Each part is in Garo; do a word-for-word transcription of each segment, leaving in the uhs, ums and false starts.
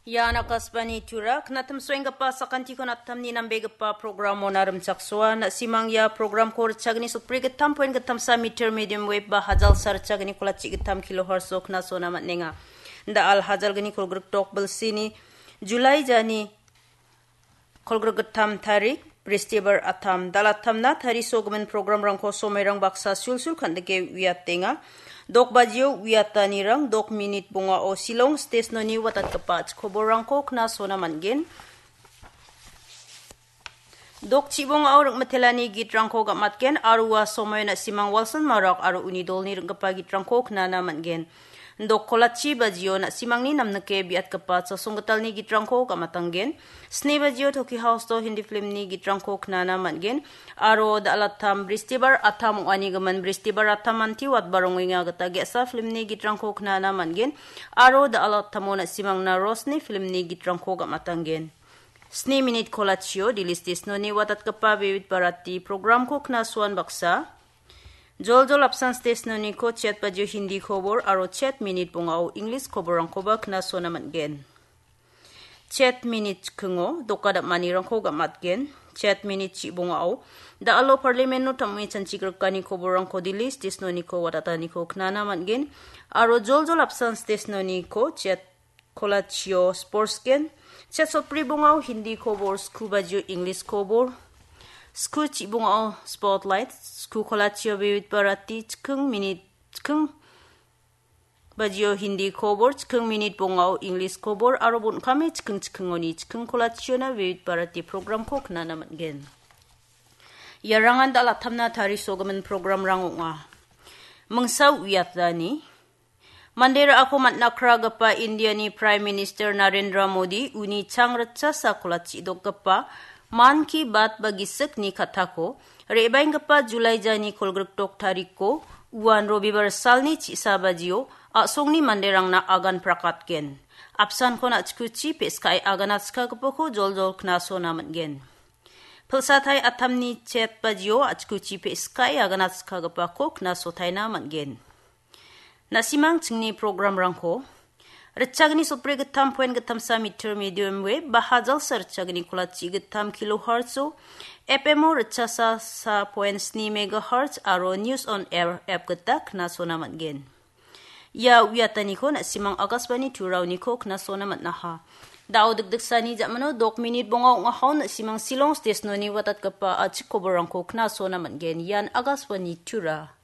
Ian Akashvani Tura, knatim soenggipa sakantiko natamni nambegipa programona rimchaksoa. Na·simang ia programko ritchagni sotbri gittam poin gittamsa meter medium wave ba hajalsa ritchagni kolachi gittam kilohertz-o knasona man·enga. Da·al hajalgni kolgrikdok bilsini Julai jani kolgrikgittam tarik, Bristibar attam, dal·attamna tarisogimin programrangko somoirang baksa sulsul kan·dike uiatenga. Dok bajio uiatanirang dok minit bongao Shillong stesnoni watatgipa chikoborangko knasona man·gen. Dok chibongao ring·mitelani gitrangko gam·atgen aro ua somoio na·simang Walson Marok aro uni dolni ring·gipa gitrangko knana man·gen. Dok kolachi bajio na·simangni namnike biatgipa chasonggitalni gitrangko gam·atanggen. Sni bajio Toki House-o Hindi filmni gitrangko knana man·gen. Aro da·alattam Bristibar attam ong·anigimin Bristibar attam anti watba rongenga gita ge·sa filmni gitrangko knana man·gen. Aro da·alattamo na·simangna Rosni filmni gitrangko gam·atanggen. Sni minit kolachio Delhi stesnoni watatgipa Vivid Bharati programko knasoan baksa. Joljol apsan stesnoniko chet bajio Hindi kobor aro chet minit bongao English koborrangkoba knasona man·gen. Chet minit chikingo doka dam·anirangko gam·atgen. Chet minit chibongao da·alo parliament-o tam·e chanchigrikani koborrangko Delhi stesnoniko watataniko knana man·gen. Aro joljol apsan stesnoniko chet kolachio sports gen. Chet sotbri bongao Hindi kobor, sku bajio English kobor. Sku chibongao spotlight, sku kolachio Vivid Bharati chiking minit chiking bajio Hindi kobor, chiking minit bongao English kobor, aro bon·kame chiking chikingoni chiking kolachiona Vivid Bharati programko knana man·gen. Iarangan dal·attamna tarisogimin programrang ong·a. Mingsa uiatani, mande ra·ako man·akragipa Indiani Prime Minister Narendra Modi uni chang ritchasa kolachi dokgipa Mann Ki Baat ba gisikni kattako re·baenggipa Julai jani kolgrikdok tariko uan Robibar salni chi·sa bajio a·songni manderangna agan prakatgen. Apsankon a·chikuchi pe·skae aganatskagipako joljol knasona man·gen. Pilsatai attamni chet bajio a·chikuchi pe·skae aganatskagipako knasotaina man·gen. Na·simang chingni programrangko ritchagni sotbri gittam poin gittamsa meter medium wave ba hajalsa ritchagni kolachi gittam kilohertz-o, F M-o ritchasa sa poin sni megahertz aro News on Air app gita knasona man·gen. Ia uiataniko na·simang Akashvani Turaoniko knasona man·aha. Da·o dikdiksani ja·mano dok minit bonga ong·ahao na·simang Shillong stesnoni watatgipa a·chik koborrangko knasona man·gen. Ian Akashvani Tura.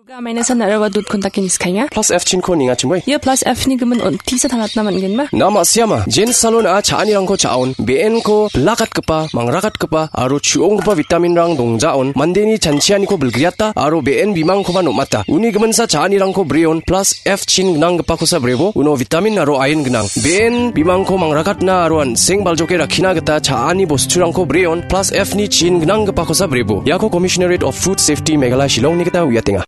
Ruga amaina san nara·aba dot kontake niskaenga. Plus F chinko nengachimoi. Ia plus F ni gimin on tisa tangatna man·genba? Na ma·siama. Jen salon a cha·anirangko cha·on. Be·enko bilakatgipa, mangrakatgipa aro chu·onggipa vitaminrang dongjaon. Mandeni chanchianiko bilgriata aro be·en bimangkoba nom·ata. Uni giminsa cha·anirangko breon. Plus F chin gnanggipakosa brebo, uno vitamin aro ain gnang. Be·en bimangko mangrakatna aro an·seng baljoke rakkina gita cha·ani bosturangko breon, plus F ni chin gnanggipakosa brebo. Iako Commissionerate of Food Safety Meghalaya Shillongni gita uiatenga.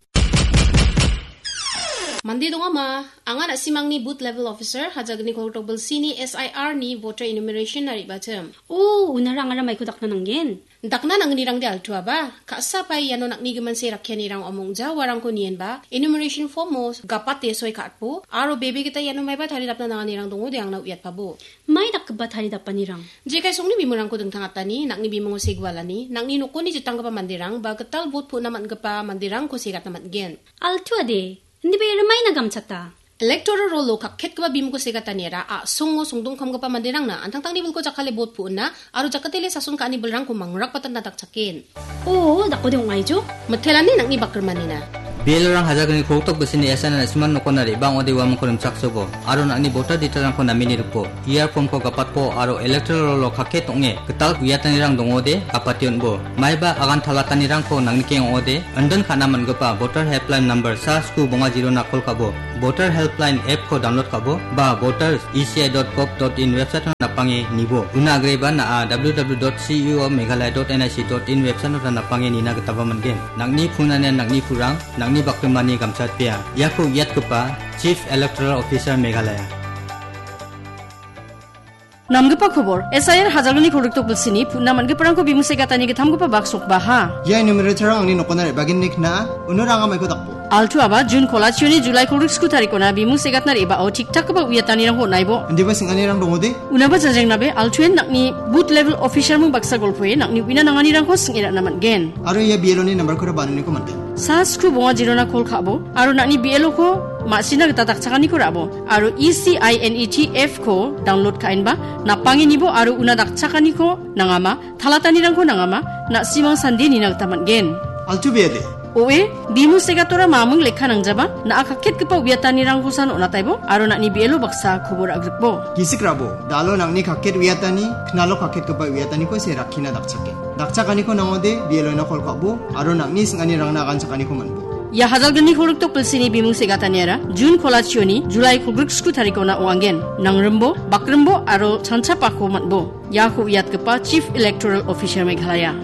Mande dongama, anga na·simangni Booth Level Officer, Hajagni Koltok Bilsini S I R ni voter enumeration na re·bachim. O, unara angara maiko dakna nanggen? Dakna nangnirangde altuaba, ka·sa pai iano nang·ni giminse rakkianirang ong·ja uarangko nienba, enumeration form-o gapate soi ka·atbo, aro bebe gita iano maiba taridapna nanganirang dongode angna uiatpabo. Mai dakgipa taridapanirang? Jekai songni bimungrangko dingtangatani, nang·ni bimungo segualani, nang·ni nokoni jitanggipa manderang, ba gital bot pu·na man·gipa manderangko segatna man·gen. Altuade, indiba ia rimaina gamchata. Electoral roll-o kakketgipa bimungko segataniara a·songo songdongkamgipa manderangna an·tangtangni bilko jakkale bot pu·na aro jakkatele sason ka·ani bilrangko mangrakbatatna dakchaken. O, dakode ong·aijo? Mitelani nang·ni bakrimanina. Belorang Hajagni Koltok Bisini S N N Siman nokona re·bang ode uamangko rimchaksobo, aro nang·ni voter detail-rangko namini ripo. Ia form-ko gapatpo aro electoral roll-o kakket ong·e gital uiatanirang dongode gapate on·bo. Maiba agan talatanirangko nangnikeng ong·ode, indon ka·na man·gipa voter helpline number sa sku bonga zero-na call ka·bo, voter helpline app-ko download ka·bo, ba voters E C I dot gov dot in website-o napange nibo. Una agreba na·a W W W dot C E O Meghalaya dot N I C dot in website-o napange nina gitaba man·gen. Nang·ni punanian nang·ni purang, nang·ni bakrimani gamchatpea. Iako uiatgipa Chief Electoral Officer Meghalaya. Namgipa kobor, S I R Hajalgni kolgrikdok bilsini, putna man·giparangko bimu se gatani gittamgipa bak sokbaha. Ia enumerator-rang angni nokona re·bagenni kna·a, uno ranga maiko dakbo. Altu aba, Jun kolachioni Julai kolgrik sku tarikona bimu se gatna re·bao tik-takgipa uiatanirangko on·aibo. Indiba sing·anirang dongode? Unaba janjengnabe, Altuen nang·ni booth level official mung baksa golpoe nang·ni uina nanganirangko sing·e ra·na man·gen. Aro ia B L O-ni nambarkora bananiko man·gen. Sa sku bonga jirona kol ka·bo, aro nang·ni B L O-ko ma·sina gita dakchakaniko ra·bo, aro E C I N E T F-ko download ka·enba, napangenibo aro una dakchakaniko nangama, talatanirangko nangama, na·simang sande nina gita man·gen. Altu B L A. O E, bimu segatora mamung lekka nangjaba, na·a kaketgipa uiatanirangkosan on·ataibo, aro nang·ni B L O baksa kobor agrikbo. Gisik rabo, dalo nang·ni kaket uiatani, knalo kaketgipa uiataniko se rakkina dakchake. Dakchakaniko nangode, B L O-na kol ka·bo, aro nang·ni sing·anirangna aganchakaniko man·bo. Ia Hajalgni kolgrikdok bilsini bimu segataniara, Jun kolachioni, Julai kolgrik sku tarikona ong·angen. Nangrimbo, bakrimbo, aro chanchapako man·bo. Iako uiatgipa Chief Electoral Officer Meghalaya.